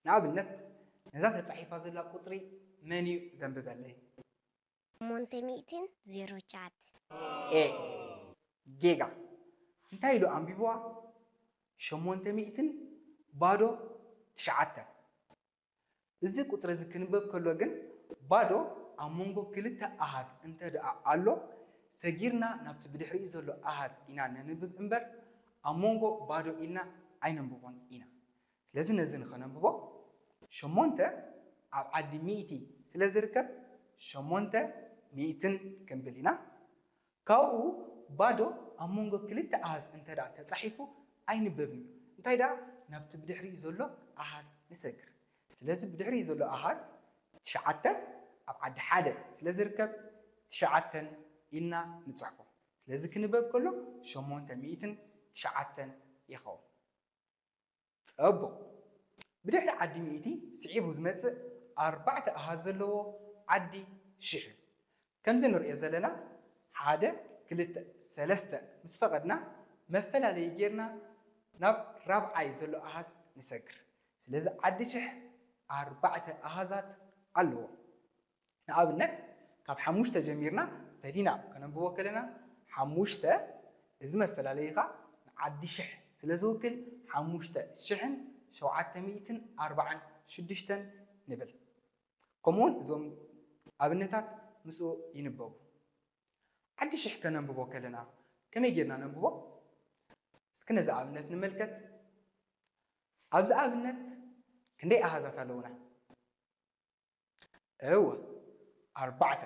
ንኣብነት፣ ነዛ ተጻሒፋ ዘላ ቁጽሪ መን እዩ ዘንብበለይ? ሸሞንተ ሚእትን ዜሮ ትሽዓተን። ኤ፣ ጌጋ። እንታይ ኢሉ ኣንቢብዋ? ሸሞንተ ሚእትን ባዶ ትሽዓተን። እዚ ቁጽሪ እዚ ክንበብ ከሎ ግን ባዶ ኣብ መንጎ ክልተ ኣሃዝ እንተ ደኣ ኣሎ፣ ሰጊርና ናብቲ ብድሕሪኡ ዘሎ ኣሃዝ ኢና ነንብብ እምበር፣ ኣብ መንጎ ባዶ ኢልና ኣይነንብቦን ኢና። ስለዚ ነዚ ንኸነንብቦ፣ ሸሞንተ ኣብ ዓዲ ሚእቲ ስለ ዝርከብ፣ ሸሞንተ ሚእትን ክንብል ኢና። ካብኡ ባዶ ኣብ መንጎ ክልተ ኣሃዝ እንተ ደኣ ተጻሒፉ ኣይንበብን እዩ። እንታይ ደኣ ናብቲ ብድሕሪኡ ዘሎ ኣሃዝ ንሰግር። ስለዚ ብድሕሪኡ ዘሎ ኣሃዝ ትሽዓተ ኣብ ዓዲ ሓደ ስለ ዝርከብ ትሽዓተን ኢልና ንጽሕፎ። ስለዚ ክንበብ ከሎ ሸሞንተ ሚእትን ትሽዓተን ይኸውን። ጸቡቕ። ብድሕሪ ዓዲ ሚእቲ ስዒቡ ዝመጽእ ኣርባዕተ ኣሃዝ ዘለዎ ዓዲ ሽሕ እዩ። ከምዚ ንርእዮ ዘለና ሓደ፣ ክልተ፣ ሰለስተ ምስ ፈቐድና መፈላለዪ ጌርና ናብ ራብዓይ ዘሎ ኣሃዝ ንሰግር። ስለዚ ዓዲ ሽሕ ኣርባዕተ ኣሃዛት ኣለዎ። ንኣብነት ካብ ሓሙሽተ ጀሚርና ፈሊና ከነንብቦ ከለና ሓሙሽተ፣ እዚ መፈላለዪ ኸኣ ንዓዲ ሽሕ ስለ ዝውክል ሓሙሽተ ሽሕን ሸውዓተ ሚእትን ኣርባዓን ሽዱሽተን ንብል። ከምኡውን እዞም ኣብነታት ምስኡ ይንበቡ። ዓዲ ሽሕ ከነንብቦ ከለና ከመይ ጌርና ነንብቦ? እስኪ ነዚ ኣብነት ንመልከት። ኣብዚ ኣብነት ክንደይ ኣሃዛት ኣለዉና? እወ፣ ኣርባዕተ።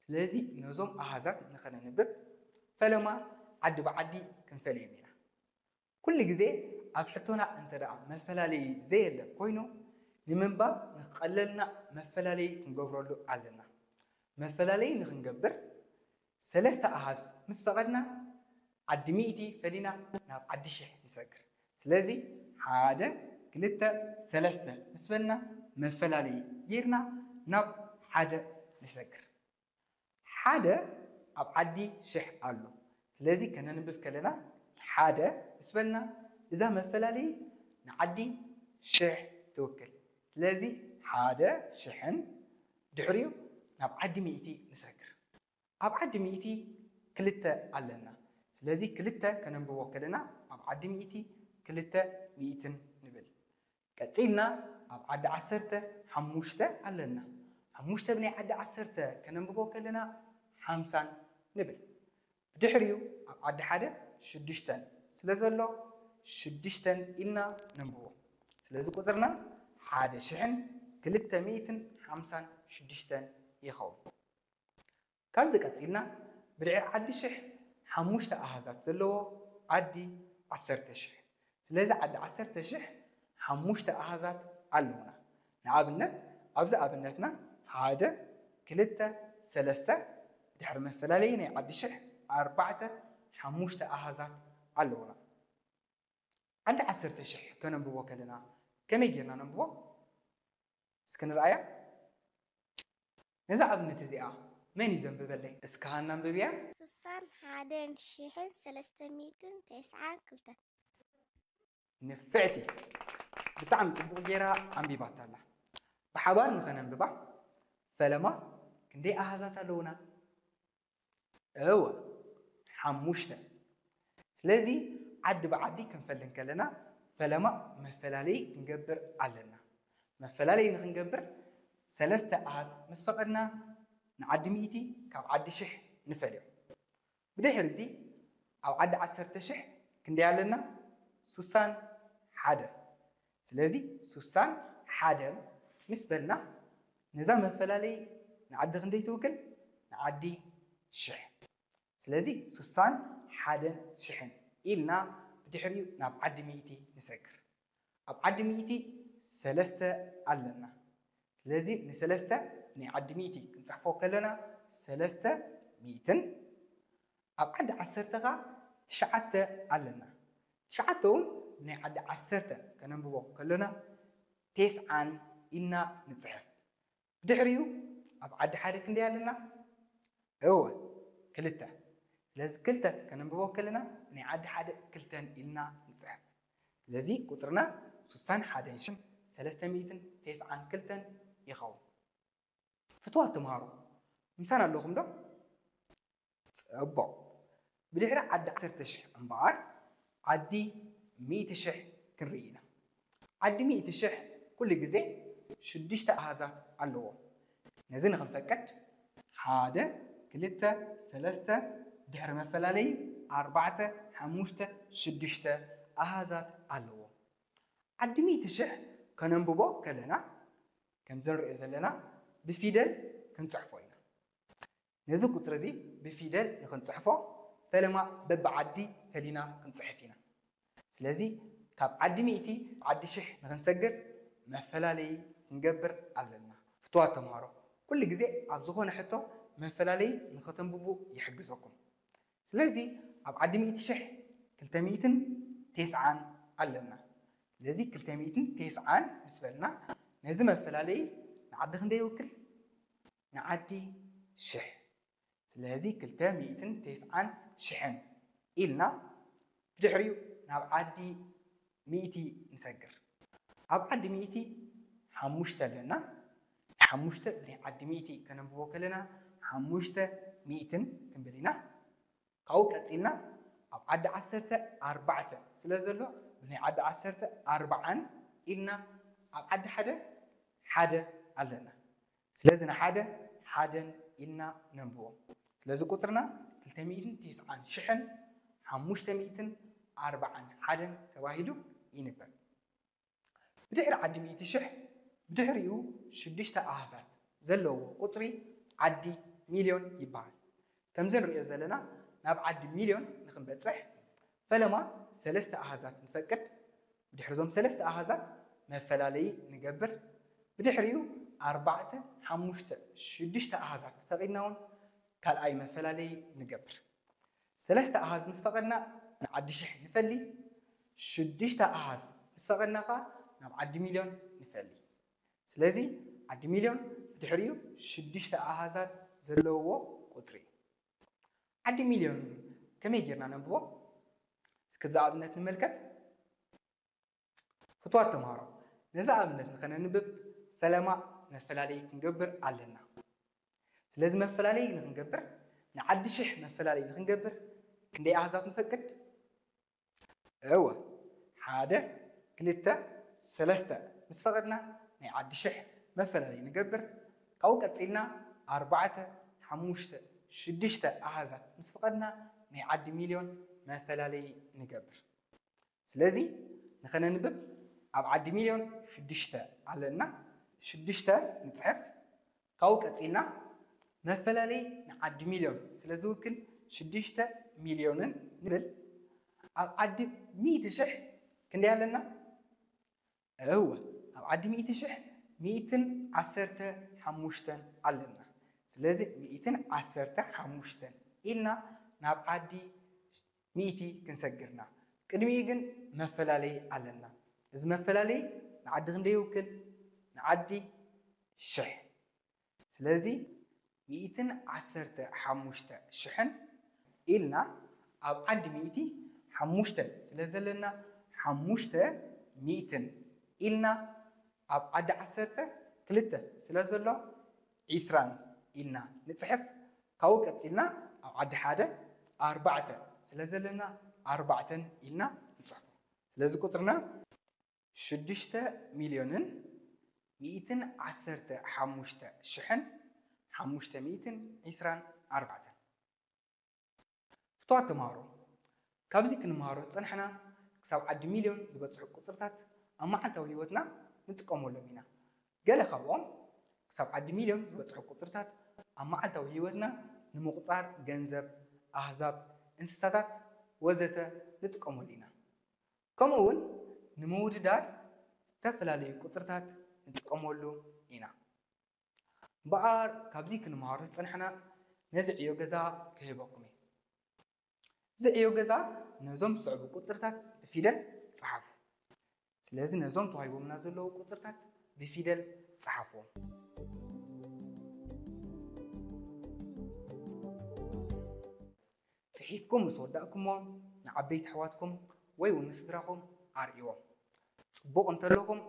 ስለዚ ነዞም ኣሃዛት ንኸነንብብ ፈለማ ዓዲ ብዓዲ ክንፈልዮም ኢና። ኩሉ ግዜ ኣብ ሕቶና እንተ ደኣ መፈላለዪ ዘየለ ኮይኑ፣ ንምንባብ ንኽቐለልና መፈላለዪ ክንገብረሉ ኣለና። መፈላለዪ ንኽንገብር ሰለስተ ኣሃዝ ምስ ፈቐድና ዓዲ ሚእቲ ፈሊና ናብ ዓዲ ሽሕ ንሰግር። ስለዚ ሓደ፣ ክልተ፣ ሰለስተ ምስ በልና መፈላለዪ ጌርና ናብ ሓደ ንሰግር። ሓደ ኣብ ዓዲ ሽሕ ኣሎ። ስለዚ ከነንብብ ከለና ሓደ ምስ በልና እዛ መፈላለዪ ንዓዲ ሽሕ ትውክል። ስለዚ ሓደ ሽሕን ድሕሪኡ ናብ ዓዲ ሚእቲ ንሰግር። ኣብ ዓዲ ሚእቲ ክልተ ኣለና። ስለዚ ክልተ ከነንብቦ ከለና ኣብ ዓዲ ሚእቲ ክልተ ሚእትን ንብል። ቀጺልና ኣብ ዓዲ ዓሰርተ ሓሙሽተ ኣለና። ሓሙሽተ ብናይ ዓዲ ዓሰርተ ከነንብቦ ከለና ሓምሳን ንብል። ብድሕሪኡ ኣብ ዓዲ ሓደ ሽዱሽተን ስለ ዘሎ ሽዱሽተን ኢልና ነንብቦ። ስለዚ ቁጽርና ሓደ ሽሕን ክልተ ሚእትን ሓምሳን ሽዱሽተን ይኸውን። ካብዚ ቀጺልና ብድሕሪ ዓዲ ሽሕ ሓሙሽተ ኣሃዛት ዘለዎ ዓዲ ዓሰርተ ሽሕ። ስለዚ ዓዲ ዓሰርተ ሽሕ ሓሙሽተ ኣሃዛት ኣለዉና። ንኣብነት ኣብዚ ኣብነትና ሓደ፣ ክልተ፣ ሰለስተ፣ ድሕሪ መፈላለዪ ናይ ዓዲ ሽሕ ኣርባዕተ፣ ሓሙሽተ ኣሃዛት ኣለዉና። ዓዲ ዓሰርተ ሽሕ ከነንብቦ ከለና ከመይ ጌርና ነንብቦ? እስኪ ንርኣያ። ነዛ ኣብነት እዚኣ መን እዩ ዘንብበለይ? እስኪ ሃና ኣንብብያ። ሱሳን ሓደን ሽሕን ሰለስተ ሚእትን ተስዓን ክልተን። ንፍዕቲ። ብጣዕሚ ጽቡቕ ጌራ ኣንቢባታ ኣላ። ብሓባር ንኸነንብባ። ፈለማ ክንደይ ኣሃዛት ኣለዉና? እወ፣ ሓሙሽተ። ስለዚ ዓዲ ብዓዲ ክንፈሊ እንከለና ፈለማ መፈላለዪ ክንገብር ኣለና። መፈላለዪ ንኽንገብር ሰለስተ ኣሃዝ ምስ ፈቐድና ንዓዲ ሚእቲ ካብ ዓዲ ሽሕ ንፈልዮ። ብድሕሪ እዚ ኣብ ዓዲ ዓሰርተ ሽሕ ክንደይ ኣለና? ሱሳን ሓደን። ስለዚ ሱሳን ሓደን ምስ በልና ነዛ መፈላለዪ ንዓዲ ክንደይ ትውክል? ንዓዲ ሽሕ። ስለዚ ሱሳን ሓደን ሽሕን ኢልና ብድሕሪኡ ናብ ዓዲ ሚእቲ ንሰግር። ኣብ ዓዲ ሚእቲ ሰለስተ ኣለና። ስለዚ ንሰለስተ ናይ ዓዲ ሚእቲ ክንጽሕፎ ከለና ሰለስተ ሚእትን፣ ኣብ ዓዲ ዓሰርተ ኸኣ ትሽዓተ ኣለና። ትሽዓተ እውን ናይ ዓዲ ዓሰርተ ከነንብቦ ከለና ቴስዓን ኢልና ንጽሕፍ። ብድሕሪኡ ኣብ ዓዲ ሓደ ክንደይ ኣለና? እወ፣ ክልተ። ስለዚ ክልተ ከነንብቦ ከለና ናይ ዓዲ ሓደ ክልተን ኢልና ንጽሕፍ። ስለዚ ቁጽርና ሱሳን ሓደን ሽሕን ሰለስተ ሚእትን ተስዓን ክልተን ይኸውን። ፍትዋት ተምሃሮ፣ ምሳና ኣለኹም ዶ? ጽቡቕ። ብድሕሪ ዓዲ ዓሰርተ ሽሕ እምበኣር ዓዲ ሚእቲ ሽሕ ክንርኢ ኢና። ዓዲ ሚእቲ ሽሕ ኩሉ ግዜ ሽዱሽተ ኣሃዛት ኣለዎ። ነዚ ንኽንፈቅድ ሓደ፣ ክልተ፣ ሰለስተ፣ ድሕሪ መፈላለይ ኣርባዕተ፣ ሓሙሽተ፣ ሽዱሽተ ኣሃዛት ኣለዎ። ዓዲ ሚእቲ ሽሕ ከነንብቦ ከለና ከምዚ ንሪኦ ዘለና ብፊደል ክንጽሕፎ ኢና። ነዚ ቁጽሪ እዚ ብፊደል ንኽንጽሕፎ ፈለማ በብዓዲ ፈሊና ክንጽሕፍ ኢና። ስለዚ ካብ ዓዲ ሚእቲ ዓዲ ሽሕ ንኽንሰግር መፈላለዪ ክንገብር ኣለና። ፍትዋት ተምሃሮ፣ ኩሉ ግዜ ኣብ ዝኾነ ሕቶ መፈላለዪ ንኸተንብቡ ይሕግዘኩም። ስለዚ ኣብ ዓዲ ሚእቲ ሽሕ ክልተ ሚእትን ተስዓን ኣለና። ስለዚ ክልተ ሚእትን ተስዓን ምስ በልና ነዚ መፈላለዪ ንዓዲ ክንደይ ይውክል? ንዓዲ ሽሕ። ስለዚ ክልተ ሚእትን ተስዓን ሽሕን ኢልና ብድሕሪኡ ናብ ዓዲ ሚእቲ ንሰግር። ኣብ ዓዲ ሚእቲ ሓሙሽተ ኣለና። ሓሙሽተ ብናይ ዓዲ ሚእቲ ከነንብቦ ከለና ሓሙሽተ ሚእትን ክንብል ኢና። ካብኡ ቀጺልና ኣብ ዓዲ ዓሰርተ ኣርባዕተ ስለ ዘሎ ብናይ ዓዲ ዓሰርተ ኣርባዓን ኢልና ኣብ ዓዲ ሓደ ሓደ ኣለና። ስለዚ ንሓደ ሓደን ኢልና ነንብቦ። ስለዚ ቁጽርና ክልተ ሚእትን ተስዓን ሽሕን ሓሙሽተ ሚእትን ኣርባዓን ሓደን ተባሂሉ ይንበብ። ብድሕሪ ዓዲ ሚእቲ ሽሕ ብድሕሪኡ ሽዱሽተ ኣሃዛት ዘለዎ ቁጽሪ ዓዲ ሚልዮን ይበሃል። ከምዚ ንሪኦ ዘለና ናብ ዓዲ ሚልዮን ንኽንበጽሕ ፈለማ ሰለስተ ኣሃዛት ንፈቅድ። ብድሕሪ እዞም ሰለስተ ኣሃዛት መፈላለዪ ንገብር። ብድሕሪኡ ኣርባዕተ፣ ሓሙሽተ፣ ሽዱሽተ ኣሃዛት ፈቒድና እውን ካልኣይ መፈላለዪ ንገብር። ሰለስተ ኣሃዝ ምስ ፈቐድና ንዓዲ ሽሕ ንፈሊ። ሽዱሽተ ኣሃዝ ምስ ፈቐድና ኸዓ ናብ ዓዲ ሚልዮን ንፈሊ። ስለዚ ዓዲ ሚልዮን ብድሕሪኡ ሽዱሽተ ኣሃዛት ዘለዎ ቁጽሪ እዩ። ዓዲ ሚልዮን ከመይ ጌርና ነንብቦ? እስኪ ብዚ ኣብነት ንመልከት። ፍትዋት ተምሃሮ፣ ነዚ ኣብነት ንኸነንብብ ፈለማ መፈላለዪ ክንገብር ኣለና። ስለዚ መፈላለዪ ንኽንገብር፣ ንዓዲ ሽሕ መፈላለዪ ንኽንገብር ክንደይ ኣሃዛት ንፈቅድ? እወ፣ ሓደ፣ ክልተ፣ ሰለስተ ምስ ፈቐድና ናይ ዓዲ ሽሕ መፈላለዪ ንገብር። ካብኡ ቀጺልና ኣርባዕተ፣ ሓሙሽተ፣ ሽዱሽተ ኣሃዛት ምስ ፈቐድና ናይ ዓዲ ሚልዮን መፈላለዪ ንገብር። ስለዚ ንኸነንብብ ኣብ ዓዲ ሚልዮን ሽዱሽተ ኣለና። ሽዱሽተ ንጽሕፍ። ካብኡ ቀጺልና መፈላለዪ ንዓዲ ሚልዮን ስለ ዝውክል ሽዱሽተ ሚልዮንን ንብል። ኣብ ዓዲ ሚእቲ ሽሕ ክንደይ ኣለና? እወ፣ ኣብ ዓዲ ሚእቲ ሽሕ ሚእትን ዓሰርተ ሓሙሽተን ኣለና። ስለዚ ሚእትን ዓሰርተ ሓሙሽተን ኢልና ናብ ዓዲ ሚእቲ ክንሰግርና። ቅድሚኡ ግን መፈላለዪ ኣለና። እዚ መፈላለዪ ንዓዲ ክንደይ ይውክል? ንዓዲ ሽሕ። ስለዚ ሚእትን ዓሰርተ ሓሙሽተ ሽሕን ኢልና ኣብ ዓዲ ሚእቲ ሓሙሽተ ስለ ዘለና ሓሙሽተ ሚእትን ኢልና ኣብ ዓዲ ዓሰርተ ክልተ ስለ ዘሎ ዒስራን ኢልና ንጽሕፍ። ካብኡ ቀጺልና ኣብ ዓዲ ሓደ ኣርባዕተ ስለ ዘለና ኣርባዕተን ኢልና ንጽሕፎ። ስለዚ ቁጽርና ሽዱሽተ ሚልዮንን ሚእትን ዓሰርተ ሓሙሽተ ሽሕን ሓሙሽተ ሚእትን ዒስራን ኣርባዕተን። ፍትዋት ተምሃሮ፣ ካብዚ ክንምሃሮ ዝጸናሕና ክሳብ ዓዲ ሚልዮን ዝበጽሑ ቁጽርታት ኣብ መዓልታዊ ህይወትና ንጥቀመሎም ኢና። ገለ ካብኦም ክሳብ ዓዲ ሚልዮን ዝበጽሑ ቁጽርታት ኣብ መዓልታዊ ህይወትና ንምቑጻር ገንዘብ፣ ኣህዛብ፣ እንስሳታት ወዘተ ንጥቀመሉ ኢና። ከምኡ እውን ንምውድዳር ዝተፈላለዩ ቁጽርታት ንጥቀመሉ ኢና። እምበኣር ካብዚ ክንምሃሮ ዝጸናሕና ነዚ ዕዮ ገዛ ክህበኩም እየ። እዚ ዕዮ ገዛ ነዞም ዝስዕቡ ቁጽርታት ብፊደል ጸሓፉ። ስለዚ ነዞም ተዋሂቦምና ዘለዉ ቁጽርታት ብፊደል ጸሓፍዎም። ጽሒፍኩም ምስ ወዳእኩሞ ንዓበይቲ ኣሕዋትኩም ወይ እውን ንስድራኹም ኣርእይዎም። ጽቡቕ እንተለኹም